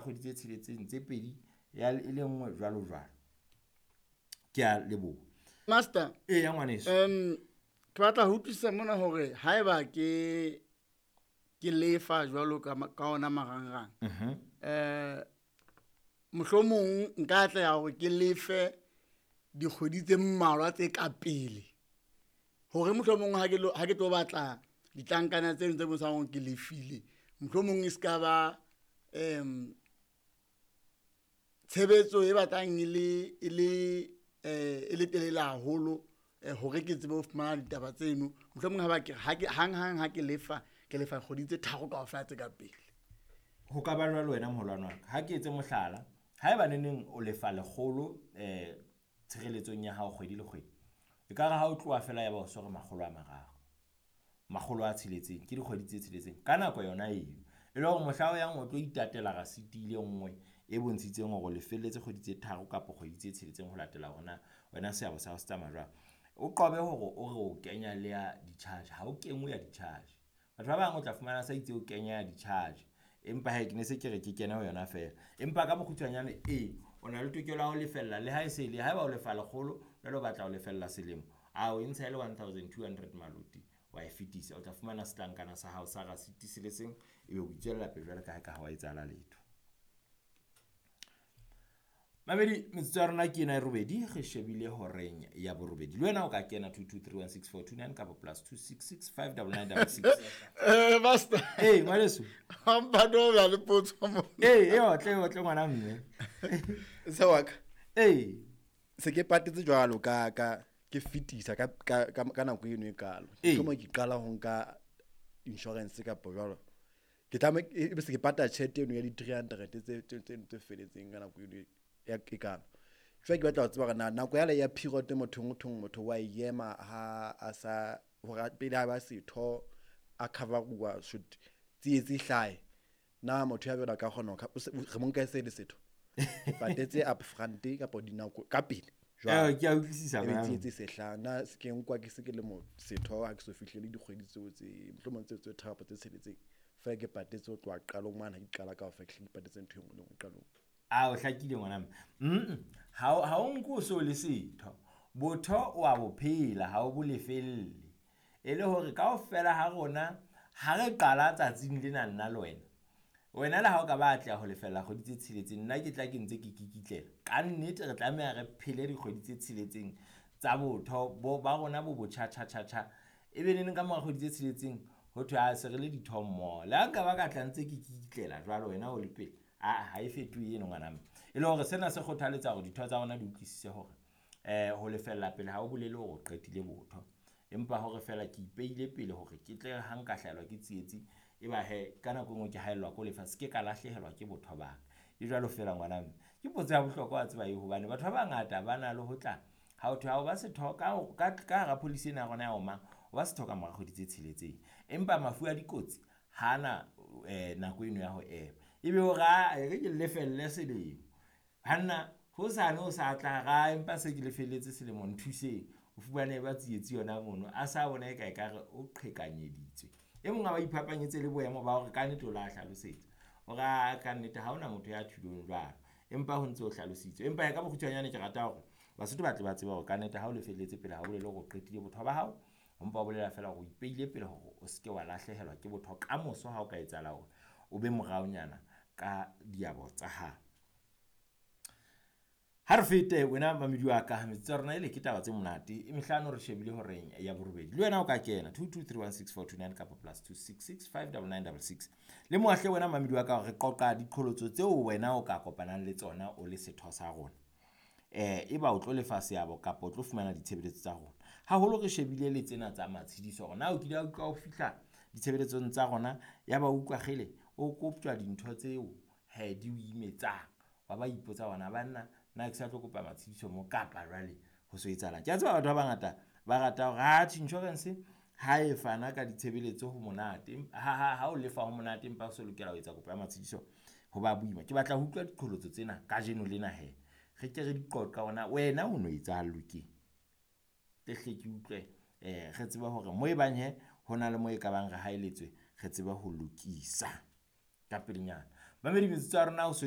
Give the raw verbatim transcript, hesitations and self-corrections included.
kgwedi tse tsheletseng, tse pedi, ya e le nngwe jwalo jwalo. Ke a leboha. Master. Eya ngwaneso. Um ke batla ho utlwisisa mona hore haeba ke ke lefa jwalo ka ka ona marangrang. Mhm. Eh mohlomong nka atleha hore ke lefe dikgwedi tse mmalwa tse ka pele. Hore mohlomong ha ke lo ha ke tlo batla ditlankana tseno tse bontshang hore ke lefile, mohlomong e ska ba em tshebetso e batlang e le e le eh e le telele haholo hore ke tsebe ho fumana ditaba tseno. Mohlomong ha ba ke ha ke hang hang ha ke lefa, ke lefa kgwedi tse tharo kaofela tse ka pele. Ho ka ba jwalo wena moholwane wa ka. Ha ke etse mohlala, haeba neneng o lefa lekgolo eh tshireletsong ya hao kgwedi le kgwedi, ekare ha o tloha feela ya ba o so re makgolo a mararo, makgolo a tsheletseng, ke dikgwedi tse tsheletseng ka nako yona eo. E le hore mohla o yang o tlo itatela rasiti e le nngwe e bontshitseng hore o lefelletse kgwedi tse tharo kapa kgwedi tse tsheletseng ho latela hore na wena seabo sa hao se tsamaya jwang. O qobe hore o re o kenya le ya di-charge, ha o kenngwe ya di-charge. Batho ba bang o tla fumana sa itse o kenya ya di-charge, empa hee ke ne se ke re ke kene ho yona feela. Empa ka bokgutshwanyane ee, o na le tokelo ya ho lefella le ha e se le haeba o lefa lekgolo, jwale o batla ho lefella selemo, a o e ntsha e le one thousand two hundred maloti wa e fetisa. O tla fumana setlankana sa hao sa rasiti se le seng, ebe o itswella pele jwalo ka ha eka ha wa etsahala letho. Mamedi, metsotso ya rona ke ena e robedi, re shebile horeng ya borobedi. Le wena o ka kena two two three one six four two nine kapa plus two six six five double nine double six. Eh master. Ee, ngwaneso. Hampa no ya le potso mo. Ee, e otle, e otle ngwana mme. Se wa ka. Ee. Se ke patetse jwalo ka ka ke fetisa ka ka ka nako eno e kalo. Ee. Mohlomong ke qala ho nka insurance kapa jwalo. Ke tlameha ebe se ke patala tjhelete eno ya di three hundred tse tse tse tse felletseng ka nako eno ya e kalo. Jwale ke batla ho tseba hore na nako yale ya period motho ho thweng motho wa e ema ha a sa hore pele a ba setho a cover-uwa should tsietsi e hlahe. Na motho ya jwalo a ka kgona ho re mo nka e se le setho? Ke patetse up front kapa dinako ka pele jwalo. Eh, ke a utlwisisa Ebe ngwana. tsietsi e se hlaha. Na se ke nkwa ke se ke le mo setho ha ke so fihlele dikgwedi tseo tse mohlomong tseo tse tharo kapa tse tsheletseng. Feela ke patetse ho tloha qalong mane ha ke qala kaofela ke hlile ke patetse ntho e nngwe le e nngwe qalong. A o hlakile ngwana mme. Mm ha o ha o nke o so le setho. Botho o a bo phela ha o bo lefelle. E le hore kaofela ha rona ha re qala tsatsing lena nna le wena. Wena le ha o ka ba atleha ho lefella kgwedi tse tsheletseng, nna ke tla ke ntse ke kikitlela. Ka nnete re tlameha re phele dikgwedi tse tsheletseng tsa botho bo ba rona bo botjha tjha tjha tjha. Ebe neneng ka mora kgwedi tse tsheletseng ho thwe a se re le ditho mmoho. Le ha nka ba ka tla ntse ke kikitlela jwalo wena o le pele, aa ha e fetohe eno ngwana mme. E le hore sena se kgothaletsa hore ditho tsa rona di utlwisise hore eh ho lefella pele ha o bolele hore o qetile botho. Empa hore feela ke ipeile pele hore ke tle ha nka hlahelwa ke tsietsi, e ba hee ka nako e nngwe ke haellwa ke ho lefa, se ke ka lahlehelwa ke botho ba ka. E jwalo feela ngwana mme. Ke potso ya bohlokwa wa tseba eo hobane batho ba bangata ba na le ho tla ha ho thwe ha o ba setho ka ka ka hara policy ena ya rona ya Omang, o ba setho ka mora kgwedi tse tsheletseng. Empa mafu a dikotsi hana eh nako eno ya ho ema. Ebe o re aa e re ke lefelle selemo. Banna hosane o sa tla ra empa se ke lefelletse selemo nthuseng. O fumane ba tsietsi yona mono a sa bona eka ekare o qhekanyeditswe. E mong a ba iphapanyetse le boemo ba hore kannete o la hlalosetsa. Hore a kannete ha hona motho ya thulong jwalo. Empa ho ntso hlalositswe. Empa ka bokgutshwanyane ke rata hore Basotho ba tle ba tsebe hore kannete ha o lefelletse pele ha o bolele hore o qetile botho ba hao. O mpa o bolela feela hore o ipeile pele hore o se ke wa lahlehelwa ke botho kamoso ha o ka etsahala hore o be moraonyana ka diabo tsa hao. Ha re fete wena mamedi wa ka, metsotso ya rona ele ke taba tse monate. E mehlano re shebile horeng ya borobedi. Le wena o ka kena two two three one six four two nine kapa plus two six six five double nine double six. Le moahle wena mamedi wa ka hore re qoqa diqholotso tseo wena o ka kopanang le tsona o le setho sa rona. Eh eba o tlo lefa seabo kapa o tlo fumana ditshebeletso tsa rona. Haholo re shebile le tsena tsa matshediso hore na o kile wa utlwa o fihla ditshebeletsong tsa rona ya ba utlwa kgele o koptjwa dintho tseo he di o imetsang. Wa ba ipotsa hore banna na ke sa tlo kopa matshediso mo kapa jwale ho so etsahalang. Ke a tseba batho ba bangata ba rata hore atjhe insurance ha e fana ka ditshebeletso ho monate, ha ha ha o lefa ho monate empa o so lokela ho etsa kopo ya matshediso ho ba boima. Ke batla ho utlwa diqholotso tsena kajeno lena hee. Re ke re di qoqa hore na wena o no etsahallwe keng. Tle hle ke utlwe eh re tsebe hore mo e bang he ho na le mo e ka bang re haeletswe re tsebe ho lokisa ka pelenyana. Mamedi metsotso ya rona o so